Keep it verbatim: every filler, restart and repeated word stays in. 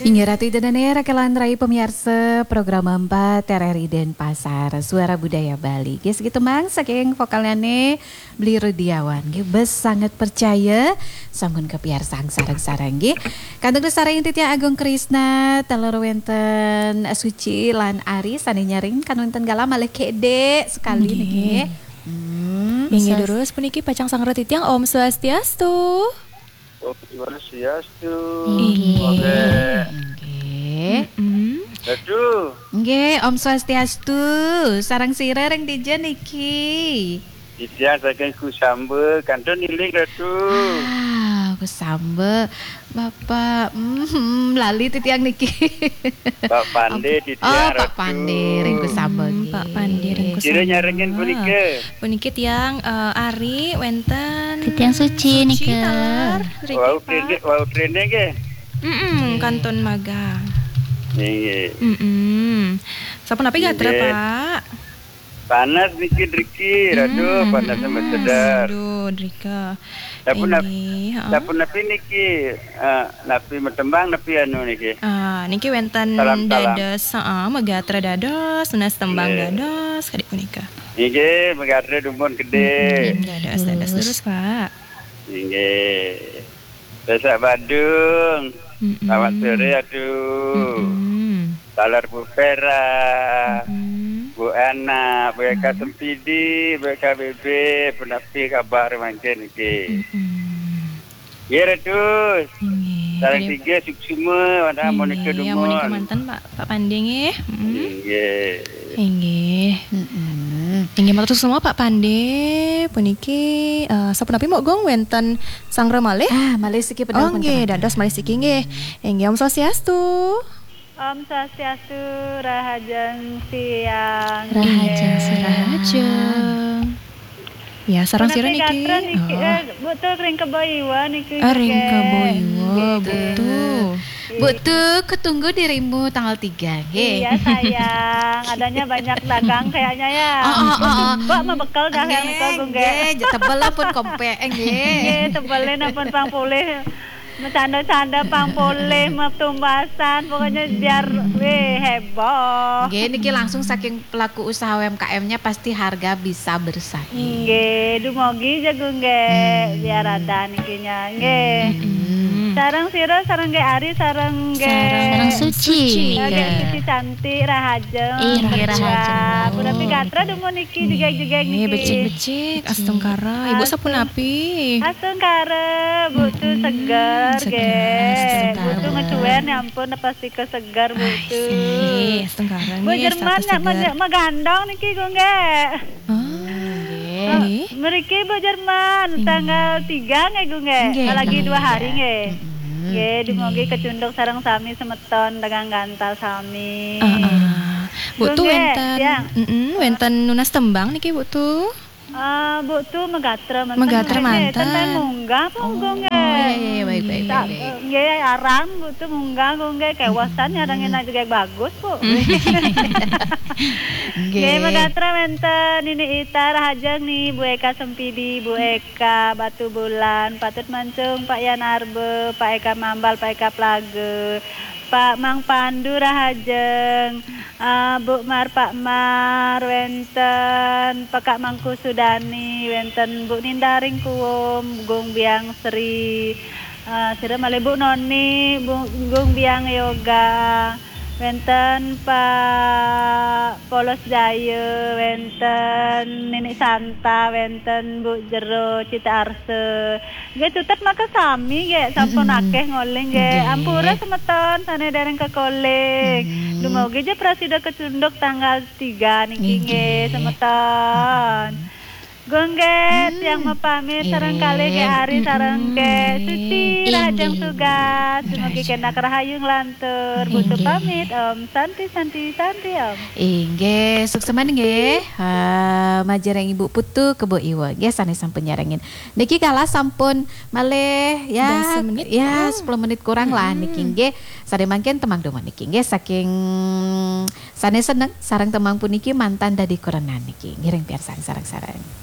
Inggih Ratu Ida Dane, raka lan rai pamiarsa program empat R R I Denpasar, Suara Budaya Bali. Nggih, siki tembang saking vokalnyane Bli Rudiawan. Nggih, bes sanget percaya sampun kapiarsang sareng-sareng nggih. Kantun sareng titiang Agung Krisna, taler wenten Suci lan Ari sane nyarengin, kantun wenten galah malih kede sekali niki nggih. Hmm, Inggih, terus puniki pacang sangra titiang, Om Swastiastu. Om Swastiastu. Inggih. Nggih. Mm-mm. Aduh. Nggih, Om Swastiastu. Sareng sira ring dija niki? Titiang saking Kusamba, kantun iling, Ratu. Ah, Kusamba. Bapak, mm, lali titiang niki. Pak Pande, Om, titiang, oh, Pak Ratu. Pande ring Kusamba. Hmm, Pak Pande ring Kusamba. Sira nyarengin punika? Puniki tiang, eh, Ari, wenten Titiang Suci Suci nika. Taler, riki, wau Pak. Trende, wau trende nggih. Mm-mm, nggih. Kantun magang. Nggih. Mm-mm. Sapunapi gatra, nggih. Pak? Panas niki driki, aduh, hmm, panas, hmm, sama sedar. Aduh, drika. Dapun nap-, inggih, heeh. Dapun napi niki, eh, napi metembang, napi anu niki? Ah, niki wenten salam, salam. Dados, heeh, megatra dados, nunas tembang, nggih, dados, kadik punika. Nggih, megatra dumun gede. Mm-mm, dados, dados terus, Pak. Nggih. Besok Badung. Mm-mm. Selamat sore, aduh. Mm-mm. Taler Bu Vera, mm-mm, Bu Ana, Bu Eka, mm-mm, Sempidi, Bu Eka B B, punapi kabar mangkin niki? Mm-mm. Nggih, Ratu. Nggih. Sareng tiga suksma, wanda, nggih, monika dumun. Monika manten, Pak, Pak Pande nggih. Mm-mm. Nggih. Inggih. Mm-mm. Inggih, matur suksma Pak Pande. Puniki, eh, sapunapi mok Gung wenten sangra malih? Ah, malih siki pedal. Oh, nggih, dados malih siki nggih. Inggih, Om Swastiastu. Om Swastiastu, rahajeng siang. Rahajeng siang. Rahajeng. Ya, sareng sira niki? Punapi gatra niki, oh, eh, Bu Tu ring Kebo Iwa niki. Ah, ring Kebo Iwa, Bu Tu. Nggih. Bu Tu, ketunggu dirimu tanggal tiga, nggih. Iya, sayang. Adanya banyak dagang kayaknya ya. Oh, oh, oh, oh. Mbok mebekel dah yang nggih, niku, nggih. Nggih, tebel pun kompek, nggih. Nggih, tebelin pun pang polih. Macanda-canda pang polih, metumbasan, pokoknya biar, weh, heboh. Nggih, niki langsung saking pelaku usaha U M K M-nya pasti harga bisa bersaing. Nggih, dumogi jagung nggih, hmm, biar ada nikinya, nggih. Hmm. Sareng sira, sareng nggih Ari, sareng nggih. Sareng Suci. Sareng Suci. Nggih, Suci cantik, rahajeng. Inggih, rahajeng. Punapi gatra dumun niki, jegeg-jegeg niki. Nggih, becik-becik, astungkara. Ibu astungkara. Astungkara, Bu Tu seger, seger, nggih. Astungkara. Bu Tu ngecuer, ya ampun, pasti keseger, Bu Tu. Astungkara, Bu nggih, Jerman, status seger. Megandong niki, Gung, nggih. Oh, nggih. Mriki Bu Jerman, tanggal tiga nggih, Gung, nggih. Nggih, lagi dua hari, nggih. Mm-mm. Nggih, dumogi kecunduk sareng sami semeton dagang gantal sami. Heeh. Bu Tu, nggih, wenten, mm-mm, wenten nunas tembang niki, Bu Tu? Eh, Bu Tu megatra manten. Megatra manten. Ten, ten munggah punggung, nggih. Oh, iya, iya, baik, baik, baik, baik. Nggih, aran Bu Tu munggah, nggih, kewasan nyarengin aja, nggih, bagus, Bu. Nggih. Nggih, megatra wenten Nini Ita, rahajeng ni, Bu Eka Sempidi, Bu Eka Batu Bulan, Patut Mancung, Pak Yan Arbe, Pak Eka Mambal, Pak Eka Plage, Pak Mang Pandu, rahajeng. Ah, Bu Mar, Pak Mar, wenten Pekak Mangku Sudani, wenten Bu Nindaring Kuwum, Gung Biang Sri, ah, sira malih Bu Noni, Bu, Gung Biang Yoga, wenten Pak Polos Jaya, wenten Nini Santa, wenten Bu Jero Cita Arsa. Nggih, tutet maka sami, nggih, sampun akeh ngoling, nggih. Nggih. Ampura semeton sane dereng kekoling. Mm-mm. Dumogi ja prasida kecunduk tanggal tiga niki, nggih, semeton. Mm-mm. Gung, nggih, tiang mapamit sareng kalih nggih Ari sareng nggih Suci, rahajeng tugas. Dumogi kenak rahayu nglantur. Bu Tu pamit, Om. Santi, Santi, Santi, Om. Inggih, suksma nggih. Ha, majeng Ibu Putu Kebo Iwa. Nggih, sane sampun nyarengin. Niki kalah sampun malih ya, sepuluh menit. Ya, sepuluh menit kurang lah niki nggih. Sare mangkin tembang dumun niki nggih saking sane seneng sareng tembang puniki mantan dadi kurenan niki. Ngiring piarsang sareng-sareng.